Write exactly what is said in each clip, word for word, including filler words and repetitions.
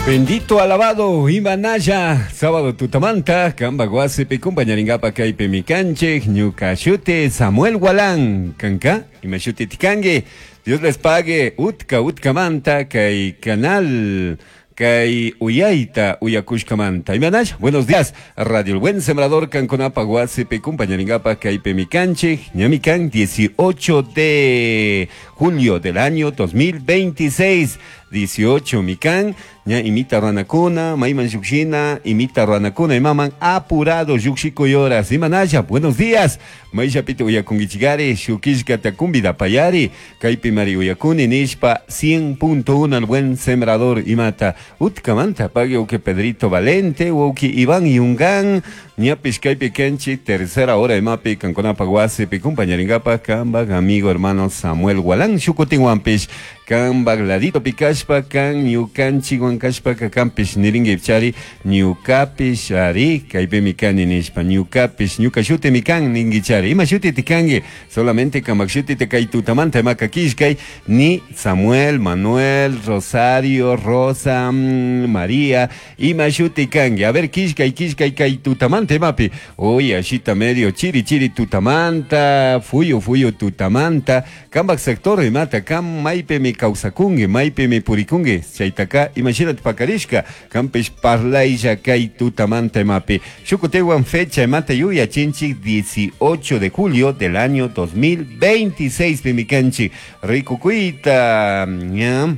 Bendito alabado Imanaya, sábado tutamanta, kamba wasipi kumpañaringapa kaypi mikanchik, ñuka shuti Samuel Gualán, kanka, ima shuti tikangi, Dios les pague, utka utkamanta, kay canal, kay uyayta uyakushkamanta. Imanaya, buenos días, Radio El Buen Sembrador, kankunapa wasipi kumpañaringapa kaypi mikanchik, ñamikan dieciocho de julio del año dos mil veintiséis. dieciocho mikan, ña imita ranakuna, maiman yuxina, imita ranakuna, imaman apurado yuxikoyoras, imanaya, buenos días, maishapito uyakungichigari, shukishka takumbida payari, kaypi mari uyakuni nishpa, cien punto uno al Buen Sembrador imata, utkamanta, pague uke Pedrito Valente, uki Iván Yungán, ñapish kaypi kenchi, tercera hora imapi, kankunapa wasipi, kumpañaringapa, kambag amigo hermano Samuel Gualán, shukutinwampish, kambag ladito pikashpa, kan ñukanchik wankashpa kakampish niringi chari ñukapish ari kaypi mikani nishpa ñukapish ñuka shuti mikan ningi chari ima shuti tikangi solamente kamak shuti te kay tutamanta imaka kishkay ni Samuel, Manuel, Rosario, Rosa, María ima shuti kangi a ver kishkay kishkay kay tutamanta imapi oye ashita medio chiri chiri tutamanta fuyu fuyu tutamanta kambak sector imata kam maypi mi kawsakungi maypi mi purikungi chaytaka imashinat pakarishka kampish parlaylla kay tutamanta imapi shukutewan fecha imata yuyachinchik dieciocho de julio del año dos mil veintiséis pimikanchik rikukuyta ña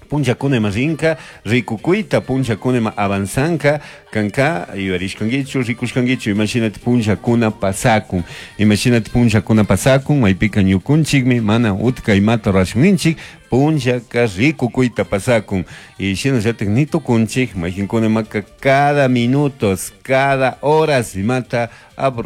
punchakuna ima rinka rikukuyta punchakuna ima avanzanka kanka yuarishkankichu rikushkankichu imashinati punchakuna pasakun imashinati punchakuna pasakun maypika ñukunchikmi mana utka imata rurashunninchik punchaka rikukuyta pasakun y shinallatik ni tukunchik maykinkuna imaka cada minutos cada horas imata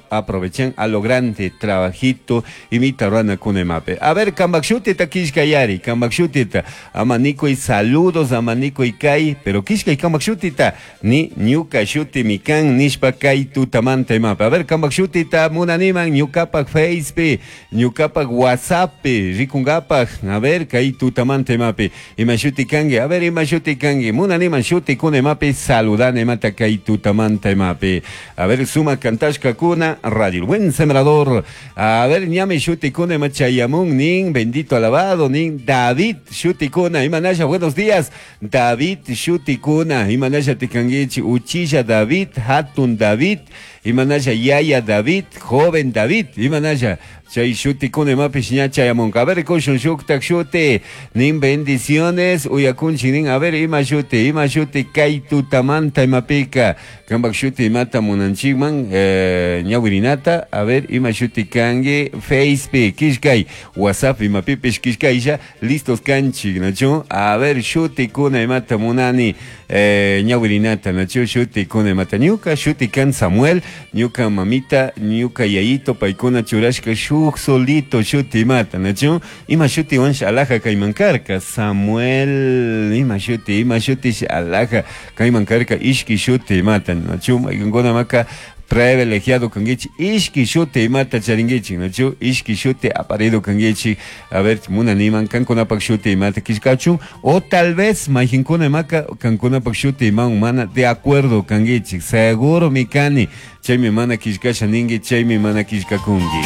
aprovechan a lo grande trabajito imita ruranakuna imapi a ver kambakshutita kishkayari kambakshutita amanikuy saludos amanikuy kay pero kishkay kambakshutita ni ñuka shuti mikan nishpa kay tutamanta imapi a ver kambakshutita munaniman ñukapak Facepi ñukapak WhatsAppi rikungapak a ver kay tutamanta imapi ima shuti kanki a ver ima shuti kanki munaniman shuti kuna imapi saludana imata kay tutamanta imapi a ver suma kantashka kuna Radio El Buen Sembrador a ver ñame shuti kuna ima chayamun nin bendito alabado nin David shuti kuna imanaya buenos días David shuti kuna imanaya tikangichi uchilla David hatun David imanaya yaya David joven David imanaya chay shuti kuna imapish ña chayamunka a ver kushun shuktak shuti nin bendiciones uyakunchik nin a ver ima shuti ima shuti kay tutamanta imapika kambak shuti imata munanchikman eh, ñawirinata a ver ima shuti kanki Facebook kishkay WhatsApp imapipish kishkaylla listos kanchik nachu a ver shuti kuna imata munani eh, ñawirinata nachu shuti kuna imata ñuka shuti kan Samuel ñuka mamita ñuka yayito paykuna churashka shuk solito shuti imata nachu ima shuti wan alaja kayman karka Samuel ima shuti ima shuti alaja kayman karka ishki shuti imata nachu maykankuna maka privilegiado kangichi ishki shuti imata charingichi nachu ishki shuti aparido kangichi a ver munaniman kankunapak shuti imata kishkachun o tal vez maykinkuna imaka kankunapak shuti iman mana de acuerdo kangichi seguro mikani chaymi mana kishkasha ningi chaymi mana kishkakungi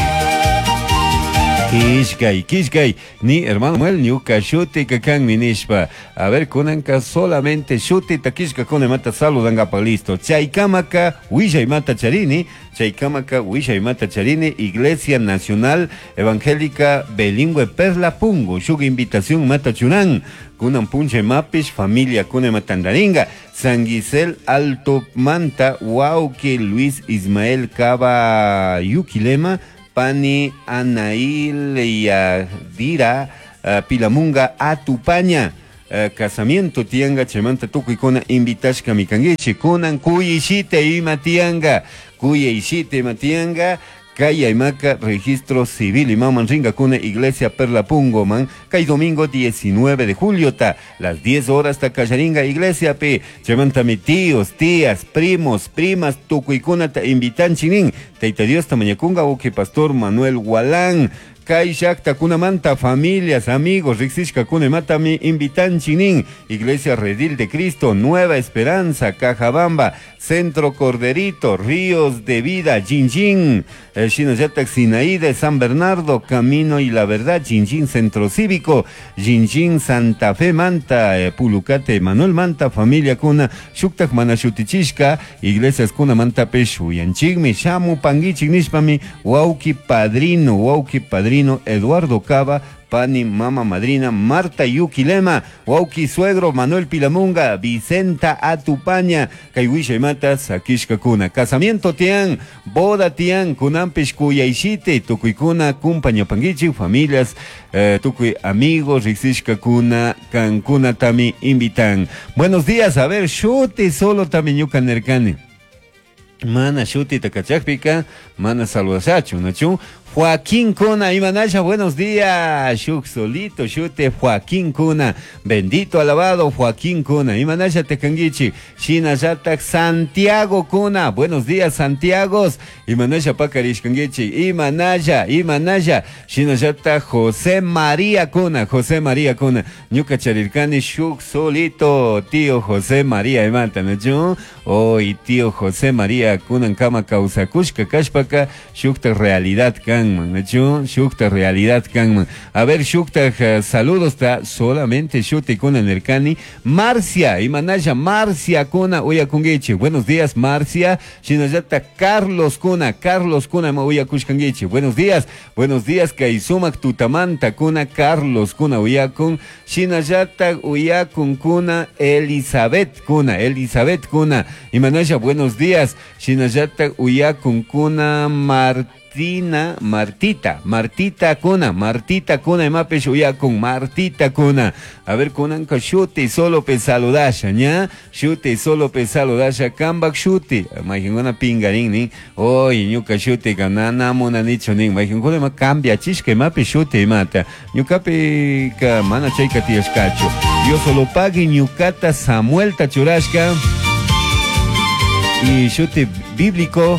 Kishkay, kishkay, ni hermano Manuel ñuka shuti kakanmi nishpa. A ver, kunanka solamente shuti takishka kuna mata saludangapa listo. Chaykamaka wishay mata charini, chaykamaka wishay mata charini, Iglesia Nacional Evangélica Bilingüe Perla Pungo, shuk invitación mata chunan. Kunan punche mapish, familia kuna matandaringa, San Gisel Alto Manta, Wauke Luis Ismael Cava Yuquilema, Pani Anail Yadira uh, Pilamunga Atupaña uh, casamiento tianga chemanta tukuykuna invitashka mikangichi kunan kuyishite ima tianga kuyishite ima tianga Kaya imaka registro civil imaman ringa kuna Iglesia Perla Pungo man kay domingo diecinueve de julio ta las diez horas ta kallaringa iglesia pe chemanta mi tíos, tías, primos, primas tukuykuna ta invitan chinin Taita Dios ta mañakunga uki pastor Manuel Gualán Kay llaqtakunamanta familias, amigos, riqsishkakuna imatami invitanchik nin. Iglesia Redil de Cristo, Nueva Esperanza, Cajabamba, Centro Corderito, Ríos de Vida, Jinjin, eh, shinallatak Sinaí de San Bernardo, Camino y la Verdad, Jinjin Centro Cívico, Jinjin Santa Fe Manta, eh, Pulucate Manuel Manta, familia kuna, shuktak mana shutichishka, iglesias kuna mantapish uyanchikmi, shamupanguichik nishpami, wauki padrino, wauki padrino Eduardo Cava, pani mama madrina Marta Yuquilema, wauki suegro Manuel Pilamunga, Vicenta Atupaña, kay wishaymata sakishkakuna. Casamiento tian, boda tian, kunanpish kuyayshite, tukuykuna kumpañapanguichik, familias, eh, tukuy amigos, riqsishkakuna, kankunatami invitan. Buenos días, a ver, shuti solo tami ñuka nirkani. Mana shutita kachakpika, mana saludashachu, nachu? Joaquín Cuna, Imanasha, buenos días. Shuk solito, shute Joaquín Cuna. Bendito, alabado Joaquín Cuna. Imanasha tekanguichi. Shinallatak Santiago Cuna. Buenos días, Santiago. Imanasha pakarishkanguichi. Imanasha, Imanasha. Shinallatak José María Cuna. José María Cuna. Ñuka charirkani shuk solito, tío José María imanta, nachu? Hoy tío José María Kunan kama kawsakushka kashpaka shukta realidad kan. Nachu, shukta realidad kanman. A ver, shukta uh, saludos ta solamente shuti kuna nirkani. Marcia, imanaya Marcia kuna uyakunguichi. Buenos días, Marcia. Shinallata Carlos kuna, Carlos kuna ma uyakushkanguichi. Buenos días, buenos días, kay sumak tutamanta kuna Carlos kuna uyakun. Shinallata uyakun kuna Elizabeth kuna, Elizabeth kuna. Imanaya, buenos días. Shinallata uyakun kuna Martina, Martita, Martita kuna, Martita kuna, imapish uyakun, Martita kuna. A ver, kunanka shuti solo pe saludasha, ña? Shuti solo pe saludasha, kambak shuti. Mayqinkuna pingarin nin, oy, ñuka shuti ka nana munanichu nin. Mayqinkuna ima cambia chishka imapi shuti imata. Ñukapi ka mana chayka tiyashkachu. Dios solo pagui ñukata Samuel churashka. Y shuti bíblico.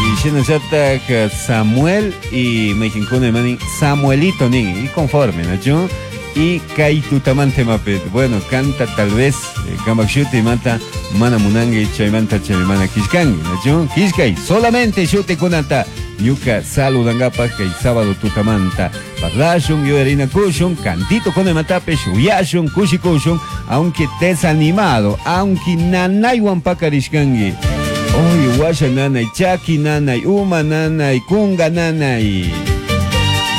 Y shinallatak Samuel y mayqinkuna imanin Samuelito nin, y conforme, ¿no? Y kay tutamante mapet. Bueno, canta tal vez kambak shuti manta mana munangi chaymanta chaymana kishkangi, ¿no? Kishkay, solamente shuti kunata ñuka saludangapak kay sábado tutamanta. Parlashun, yuyarinakushun, cantito con imatapish, uyashun, kushikushun, aunque desanimado, aunque nanaywan pakarishkangi. Oy, washa nanay, chaki nanay, uma nanay, kunga nanay.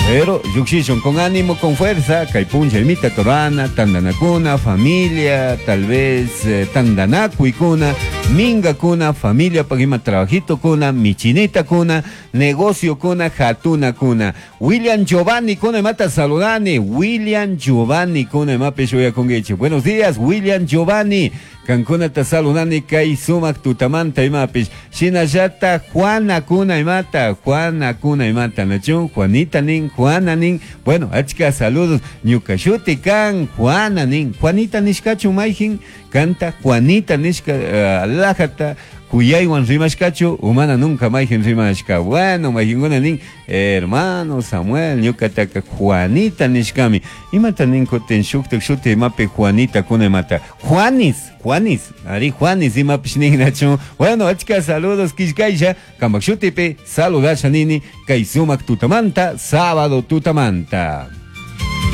Pero lluqshishun con ánimo, con fuerza, kay puncha imita torana, tandanakuna, familia, tal vez eh, tandanakuykuna, minga kuna, familia pag ima trabajito kuna, michinita kuna, negocio kuna, jatuna kuna. William Giovanni kuna imata saludani, William Giovanni kuna imapish uyakunguichi. Buenos días, William Giovanni. Kankunata saludani kay sumak tutamanta imapish. Shinallata Juana kuna imata, Juana kuna imata, nachun, Juanita nin, Juana nin. Bueno, achka saludos. Ñuka shuti kan, Juana nin. Juanita nishkachu mayjin, kanta Juanita nishka uh, alajata. Kuyaywan rimashkachu, umana nunca mayjin rimashka. Bueno, mayjinkuna nin, hermano Samuel, ñukataka Juanita nishkami. Imata nin kutin shuktak shuti imapi Juanita kuna imata. Juanis, Juanis, ari Juanis imapish nin nachu. Bueno, achka saludos kishkaysha, kambak shutipi, saludasha nini, kay sumak tutamanta, sábado tutamanta.